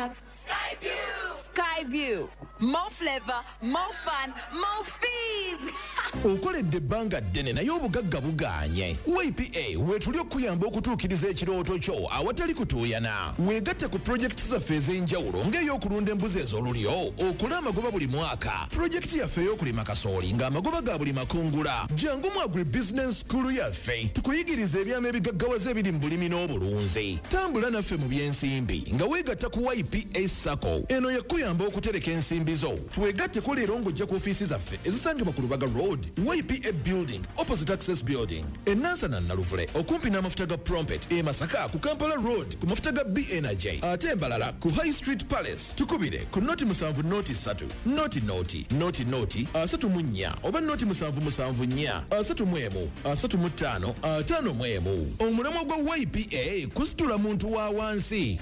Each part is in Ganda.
have Skyview. Skyview. More flavor, more fun, more fees. Okoledde ebbanga ddene naye obugagga bugaanye. YPA weetuli okukuyamba okutuukiriza ekirooto kyo awatali kutuuyana. Weegatte ku pulojekiti zaffe ez'enjawulo ng'ey'okulunda embuzi ez'olulyo okole amagoba buli mwaka, pulojekiti yaffe ey'okulima kasooli ng'amagoba ga buli makungula. Jangu mu Agribusiness School yaffe tukuyigiriza ebyama ebigaggawaza ebiri mu bulimi n'obulunzi. Tambula naffe mu by'ensimbi nga weegatta ku YPA SACCO. Eno yakuyamba okutereka ensimbi zo. Twegatteko leero ng'ojja ku ofiisi zaffe ezisangibwa ku Lubaga Road, YPA Building, opposite Access Building, e Nansana Naluvule okumpi n'amafuta ga Prompet, e Masaka ku Kampala Road ku mafuta ga B Energy, ate embalala ku High Street Palace. Tukubire ku 0 7 0 3 0 0 0 0 34 oba 0 7 7 4 31 35 51. Omulamwa gwa YPA kusitula muntu wa wansi.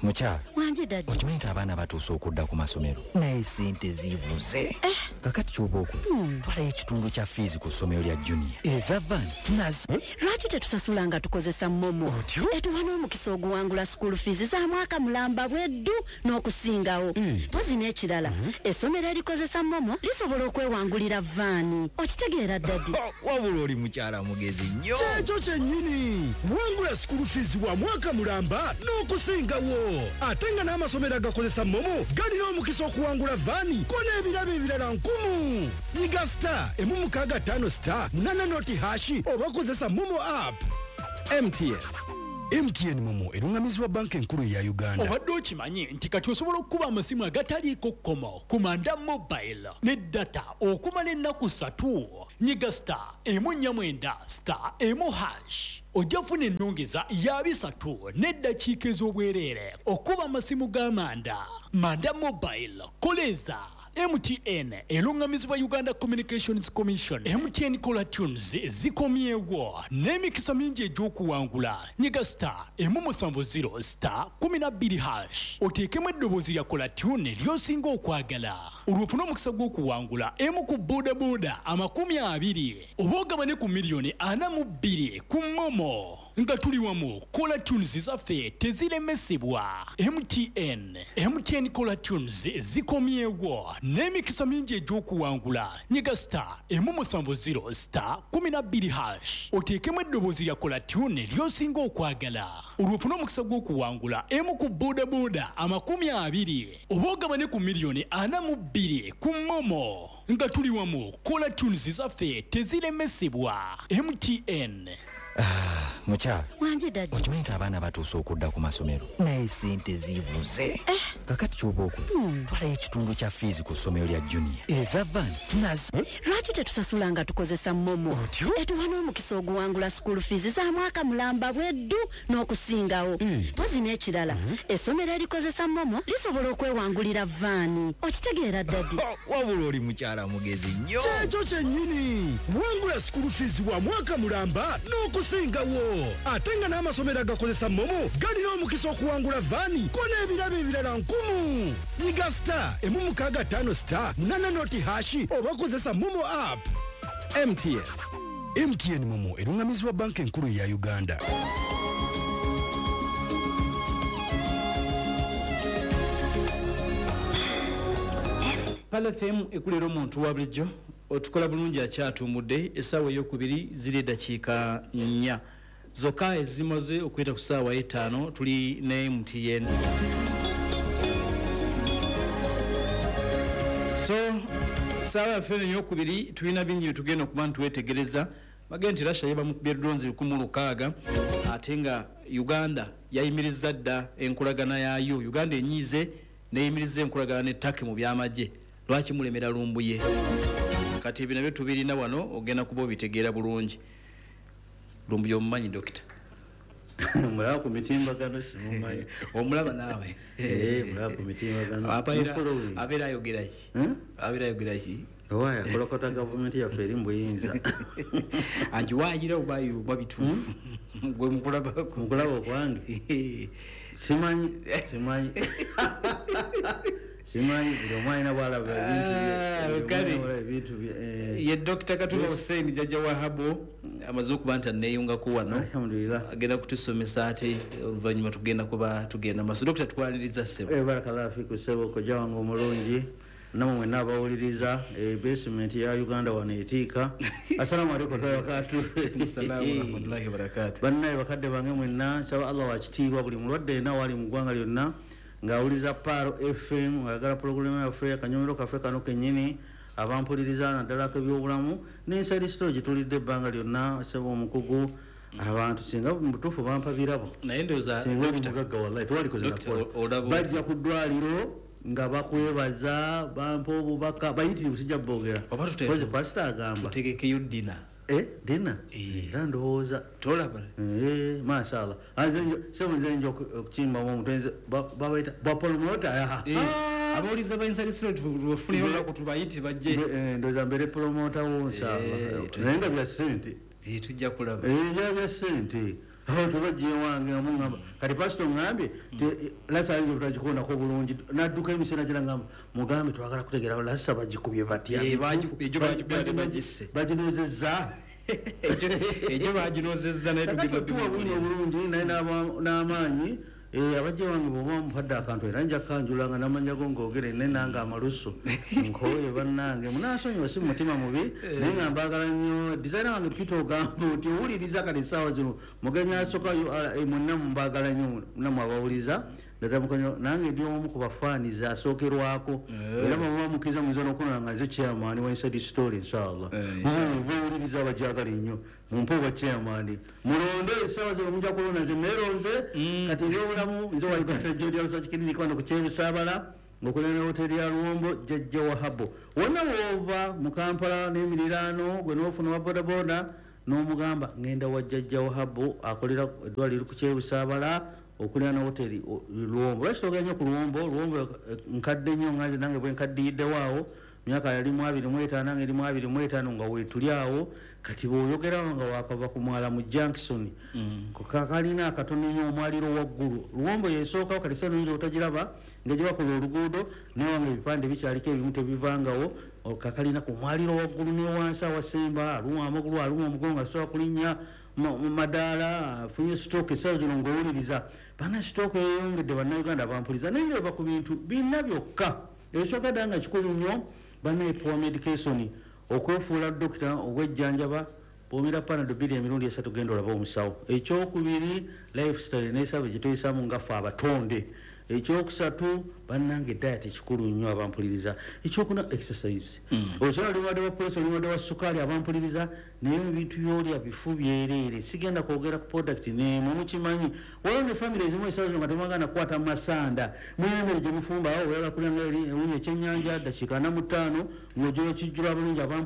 Mukyala. Wangi, daddy. Okimanyi nti abaana batuuse okudda ku masomero, naye sente zibuze. Kakati kyoba okola, twalayo ekitundu kya fiizi ku ssomero lya Junior, eza van nazo. Lwaki tetusasula nga tukozesa MoMo? Etuwa n'omukisa oguwangula school fees za mwaka mulamba bweddu n'okusingawo. Mpozi n'ekirala, essomero erikozesa MoMo lisobola okwewangulira van. Okitegeera, daddy? Wabula oli mukyala mugezi nnyo. Kyekyo kyennyini. Wangula school fees wa mwaka mulamba n'okusingawo, ate nga n'amasomero agakozesa MoMo galina omukisa okuwangula van ko n'ebirabo ebirala nkumu. Nyiga *165 *80 #oba kozesa MoMo app. MTN. MTN MoMo eruŋŋamizibwa Banka Enkulu eya Uganda. Obadde okimanyi nti kati osobola okukuba amasimu agataliiko kkomo ku Manda Mobile ne data okumala ennaku 3? Nyiga *149 *1# ojja funa ennongeza ya 300 n'eddakiika ez'obwereere okuba amasimu ga Manda. Manda Mobile, koleeza. MTN eruŋŋamizibwa Uganda Communications Commission. MTN Caller Tunes zikomyewo n'emikisa mingi egy'okuwangula. Nyiga *170 *12# oteekemu eddoboozi lya caller tune ly'osinga okwagala, olwo ofune omukisa gw'okuwangula emu ku bodaboda 20 oba ogabane ku miliyoni 42 ku MoMo. Nga tuli wamu, caller tunes zaffe teziremesebwa. MTN. MTN Caller Tunes zikomyewo n'emikisa mingi egy'okuwangula. Nyiga *170 *12# oteekemu eddoboozi lya caller tune ly'osinga okwagala, olwo ofune omukisa gw'okuwangula emu ku bodaboda 20 oba ogabane ku miliyoni 42 ku MoMo. Nga tuli wamu, caller tunes zaffe teziremesebwa. MTN. Mukyala. Wangi, daddy. Okimanyi nti abaana batuuse okudda ku masomero, naye sente zibuze. Kakati kyoba okola, twalayo ekitundu kya fiizi ku ssomero lya Junior, eza van nazo. Lwaki tetusasula nga tukozesa MoMo? Etuwa n'omukisa oguwangula school fees za mwaka mulamba bweddu n'okusingawo. Mpozi n'ekirala, essomero erikozesa MoMo lisobola okwewangulira van. Okitegeera, daddy? Wabula oli mukyala mugezi nnyo. Kyekyo kyennyini. Wangula school fees wa mwaka mulamba n'okusingawo, ate nga n'amasomero agakozesa MoMo galina omukisa okuwangula van ko n'ebirabo ebirala nkumu. Nyiga *165 *80 # oba kozesa MoMo app. MTN. MTN MoMo eruŋŋamizibwa Banka Enkulu eya Uganda. Pearl FM ekulera omuntu wa bulijjo, otukola bulungi. Akyatuumudde essaawa eyokubiri ziri eddakiika 4 zokka ezimaze okuyita ku ssaawa 5. Tuli ne MTN. So saawa yaffe eno eyokubiri tulina bingi byetugenda okuba ntiwetegereza. Bagenda nti Russia yebamukubye drones 1600, ate nga Uganda yayimiriza dda enkolagana yaayo. Uganda enyiize neyimiriza enkolagana ne Turkey mu byamagye. Lwaki mulemera Lumbuye? Kati ebyo nabyo tubirina wano, ogenda kuba obitegeera bulungi. Lumbuye omumanyi, dokita? Mulaba ku mitimbagano, simumanyi. Omulaba naawe? Eh, mulaba ku mitimbagano. Mufollowing. Abeera ayogera ki? Hmm? Abeera ayogera ki? Owaye akolokota gavumenti yaffe eri mu buyinza. Agiwaayira oba oba bituufu gwe mukulabako? Mukulaba okwange, simanyi, simanyi, simanyi. Buli omu alina bwalaba ebintu bye. Ah, Buli omu kale. alina bw'alaba ebintu bye. Ye Dr. Katumba Hussein, jjajja wa Habo. Amaze okuba nti aneeyungako wano. Alhamdulillah. Agenda kutusomesa, ate oluvannyuma tugenda kuba tugenda maaso. Dokita, tukwaniriza ssebo. Barakallahu fiku ssebo, kojja wange omulungi, namwe mwenna abawuliriza. Basement ya Uganda wano etiika. Assalamu alaikum wabarakatu. Assalamu warahmatullahi wabarakatuh. Bannaye bakadde bange mwenna, nsaba Allah wakitiibwa buli mulwadde yenna wali mu ggwanga lyonna ng'awuliriza Pearl FM, ng'ayagala pulogulaamu yaffe akanyomero kaffe kano kennyini, abampuliriza naddala ak'ebyobulamu n'Inside Story gye tulidde ebbanga lyonna. Ssebo omukugu, abantu singa mu butuufu bampa birabo, naye ndowooza singa oli Dokita, mugagga, wallahi tewalikoze Dokita, nakola. Olaba Bajja ku ddwaliro nga bakwebaza, bampa obubaka bayitirivu, sijja boogera. Oba Kozi pasita agamba tutegekeyo dinner. Dinner era ndowooza tolaba. Mashallah. Sebo nze nja okukimbamu omutwe nze babayita bapromota. Abawuliza ba Inside Story tubafuneyo olunaku tubayite bajje. Ndowooza mbeere promota wo inshallah, naye nga bya ssente. Tujja kulaba. Bya bya ssente. Abantu bajja ewange nga muŋŋamba kati pasito ŋŋambye lasa ayinza obutagikondako bulungi nadduka emisana gira ngamba mugambe twagala kutegeera lasa bagikubye batya. Egyo bagikubye ate bagisse. Baginozezza. Egyo baginozezza naye Kakati tugenda otuwa bulungi obulungi naye n'amaanyi. Abajja wange bw'oba mpadde akantu era nja kanjula nga n'amanya go ng'ogere ne nange amalusu nkooye. Bannange munansonyiwa, si mu mutima mubi, naye nga mbaagala nnyo. Designer wange Peter, ogamba oti owuliriza kati essaawa zino mugenyi asooka URA, mwenna mumbaagala nnyo nammwe abawuliriza ddala mukonyo. Nange ndi omu ku bafaanizi asookerwako era bw'omuba mukkiriza muyinza n'okunona nga nze chairman wa Inside Story inshallah. Bawuliriza abajagala ennyo mumpe obwa chairman, mulonde essaawa zino mujja kulonda nze neeronze. Kati ebyobulamu, nze wa Uganda Jodi Research Clinic wano ku Kyebusaabala ng'okuliraana hoteri ya Luwombo, Jjajja Wahabo. Wonna woova mu Kampala n'emiriraano, gwe n'ofuna wa bodaboda n'omugamba ngenda wa Jjajja Wahabo akolera eddwaliro ku Kyebusaabala okuliraana hoteri Luwombo. Lwaki twogera nnyo ku Luwombo? Luwombo nkadde nnyo nga nze nange bwe nkaddiyiddewo awo myaka yali mu 25, nange eri mu 25 nga weetuli awo. Kati bw'oyogerawo nga wakava ku mwala mu junction kalina akatono nnyo omwaliro waggulu, Luwombo yesookawo. Kati sano oyinza obutagiraba nga gye bakola oluguudo, naye wange ebipande bikyaliko ebimu tebivangawo. Kakalina ku mwaliro waggulu ne wansi awasemba aluma amagulu, aluma omugongo, asobola kulinnya mu madaala, afunye stroke essaawa zino ng'owuliriza. Bana stroke eyeyongedde, bannayuganda bampuliza, naye nga eva ku bintu bina byokka. Ekisooka ddala nga kikulu nnyo, bana, poor medication, okwefuula dokita ogwejjanjaba. Bw'omira Panado bbiri emirundi esatu, genda olabe omusawo. Ekyokubiri, lifestyle n'esaba gye tuyisaamu nga ffe abatonde. Ekyokusatu, bannange, diet ekikulu nnyo abampuliriza. Ekyokuna, exercise. Okyala oli mulwadde wa pressure, oli mulwadde wa sukaali, abampuliriza, naye ebintu byolya bifu byereere. Sigenda kwogera ku product n'emu, mukimanyi. Waliwo ne family ezimu essaawa zino nga temwagala kukwata masanda, mulina emmere gye mufumba awo, oyagala kulya nga ewunya ekyennyanja dakiika 45 ng'ojula kijjula bulungi abampuliriza.